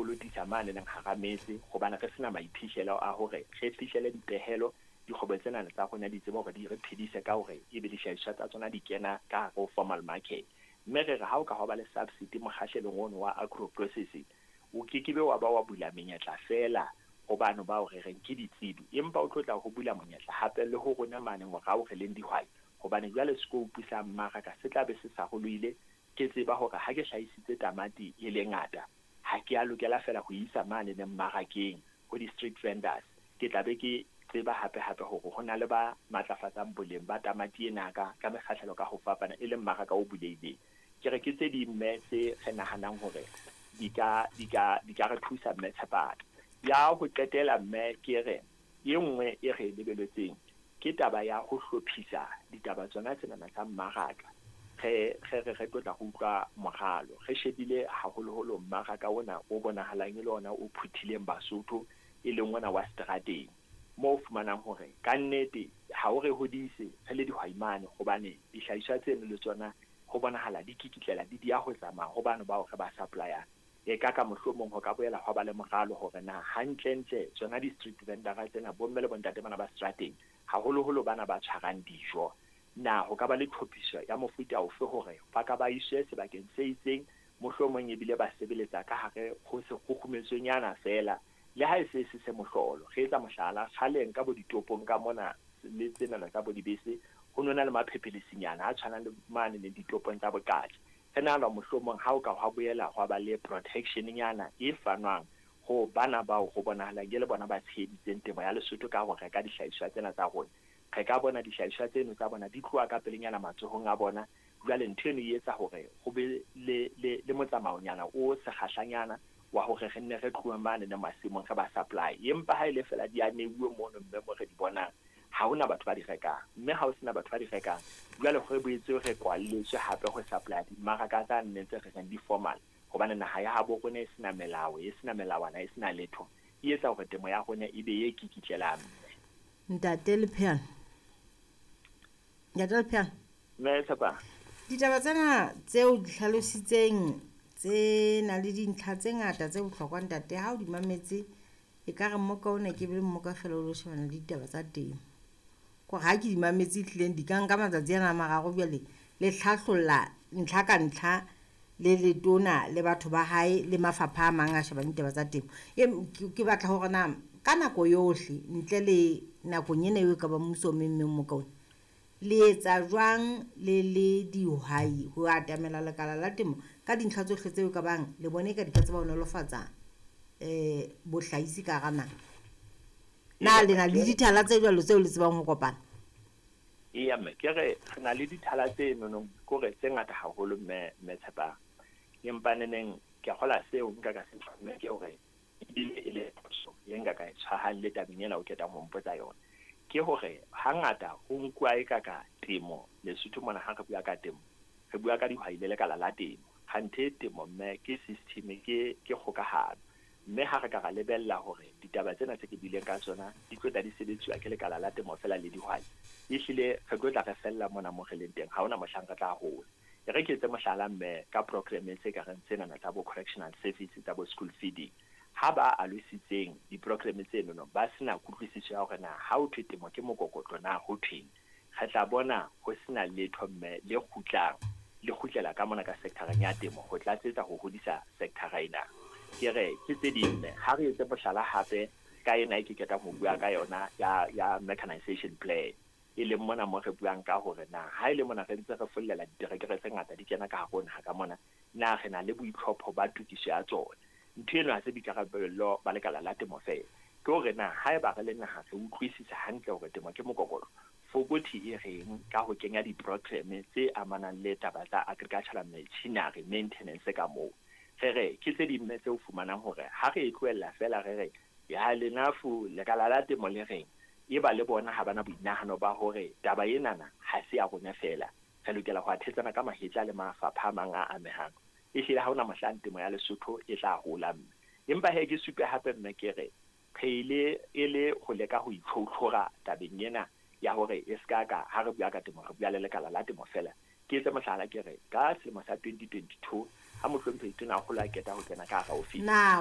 kolotisa mane neng hara metse, hobane re sena maiphihlelo a hore re fihlele dipehelo. Dikgwebo tsena tsa rona di tsebe hore di re phedise ka hore ebe dihlahiswa tsa tsona di kena ka hare ho formal market. Mme re re ha o ka hwa ba le subsidy mokgahlelong ono wa agro processing, o ke ke be wa ba wa bula menyetla feela ho bano bao re reng ke ditsebi, empa o tlo tla ho bula monyetla hape le ho rona mane morao re leng dihwai, hobane jwale scope sa mmaraka se tla be se sarolohile. Ke tseba hore ha ke hlahisitse tamati e le ngata, ha ke a lokela feela ho isa mane ne mmarakeng ho di-street vendors. Ke tla be ke tseba hape-hape hore ho na le ba matlafatsang boleng ba tamati ena ka mekgahlelo ka ho fapana, e leng mmaraka o bulehileng. Ke re ke tse ding mme tse re nahanang hore di ka re thusa, mme Tshepana. Ya ho qetela, mme, ke re e nngwe e re e lebeletseng ke taba ya ho hlophisa ditaba tsona tsenana tsa mmaraka. Re tlo tla re utlwa moralo, re shebile haholoholo mmaraka ona o bonahalang e le ona o phuthileng Basotho, e leng ona wa strateng, moo o fumanang hore kannete ha o re hodise re le dihwai mane, hobane dihlahiswa tseno le tsona ho bonahala di kikitlela di dia ho tsamaya ho bano bao re ba supply-ang. E ka mohlomong ho ka boela hwa ba le moralo hore na hantlentle tsona di-street vendora tsena, bomme le bontate bana ba strateng, haholoholo bana ba tshwarang dijo, na ho ka ba le tlhophiso ya mofuta ofe hore ba ka ba iswe sebakeng se itseng, mohlomong ebile ba sebeletsa ka hare ho sekgukgumetsonyana feela, le ha e se se se mohlolo. Re etsa mohlala, kgaleng ka bo ditopong ka mona le tsenana tsa bo dibese, ho nona le maphephelesinyana a tshwanang le mane le ditopong tsa boqatshe. Re nahana mohlomong ha o ka hwa boela hwa ba le protection-nyana e fanwang ho bana bao ho bonahalang e le bona ba tsheheditseng temo ya Lesotho ka ho reka dihlahiswa tsena tsa rona, re ka bona dihlahiswa tseno tsa bona di tloha ka pelenyana matsohong a bona. Jwale ntho eno e etsa hore ho be le motsamaonyana o sekgahlanyana wa hore re nne re tlohe mane ne masimong re ba supply. Empa ha e le feela di a neuwe mono, mme mo re di bonang ha hona batho ba di rekang, mme ha ho sena batho ba di rekang, jwale re boetse re kwalletswe hape ho supply dimmaraka tsa nne tse re reng di formal, hobane naha ya habo rona e sena melao, e sena melawana, e sena letho, e etsa hore temo ya rona e be e kikitlelang, mme. Ntate Lepheana, ntate Lepheana. Mme Tshepang. Ditaba tsena tseo di hlalositseng tse na le dintlha tse ngata tse bohlokwa, ntate. Ha o di mametse, e ka re mmoka ona ke be mmoka fela o lo shebana le ditaba tsa temo. Kore ha ke di mametse, ehlileng di ka nka matsatsi ana a mararo. Jwale le hlahlolla ntlha ka ntlha le letona le batho ba hae le mafapha a mang a shebang ditaba tsa temo. Ke batla hore na ka nako yohle, ntle le nakong ena eo e ka ba mmuso o memmeng moka ona, le etsa jwang le le dihwai ho atamela lekala la temo ka dintlha tsohle tseo ka bang le bone ka di ka tseba ho nolofatsa bohlahisi ka hara naha? Na le na le dithala tse jwalo tseo le tsebang ho kopana? Eya mme, ke re re na le dithala tse nonong, kore tse ngata haholo, mme Tshepang. Empa neneng ke kgola seo nka ka se, mme, ke hore ebile e le phoso ye nka ka e tshwarang le tabeng ena o ketang ho mpotsa yona, ke hore hangata ho nkuwa e ka temo Lesotho mona. Ha re bua ka temo, re bua ka dihwai le lekala la temo. Kganthe temo, mme, ke system, ke kgokahano. Mme ha re ka ra lebella hore ditaba tsena tse ke buileng ka tsona di tlo tla di sebetsiwa ke lekala la temo fela le dihwai, ehlile re tlo tla re fella mona mo re leng teng, ha hona mohlang re tla hola. E re ke etse mohlala, mme, ka program tse ka reng tsenana tsa bo correctional service, tsa bo school feeding. Ha ba alositseng di-program tsenono ba sena kutlwisiso ya hore na ha ho thwe temo ke mokokotlo na ho thweng, re tla bona ho sena letho, mme, le kgutlang le kgutlela ka mona ka sectoreng ya temo ho tlatsetsa ho hodisa sectora ena. Ke re ke tse ding, mme. Ha re etse mohlala hape ka ena e ke ketang ho bua ka yona ya mechanization plan, e leng mona mo re buang ka hore na ha e le mona re ntse re follela diterekere tse ngata di kena ka hare ho naha ka mona, na re na le boitlhopho ba tokiso ya tsona? Ntho eno ha se boikarabello ba lekala la temo fela, ke hore na haeba re le naha re utlwisisa hantle hore temo ke mokokotlo, fokothi e reng ka ho kenya di-program tse amanang le taba tsa agricultural machinery maintenance ka moo? Re re ke tse ding, mme, tse o fumanang hore ha re e tlohella fela, re re ya lenafu lekala la temo le reng, e ba le bona ha bana boinahano ba hore taba enana ha se ya rona fela, re lokela ho athetsana ka mahetla le mafapha a mang a amehang, ehlile ha hona mohlang temo ya Lesotho e tla hola, mme. Empa he ke supe hape, mme, ke re re ile e le ho leka ho itlhotlhora tabeng ena ya hore e ska ka ha re bua ka temo re bua le lekala la temo fela. Ke etse mohlala, ke re ka selemo sa 2022 ha mohlomphehi Tonakgolo a keta ho kena ka hara ofisi Na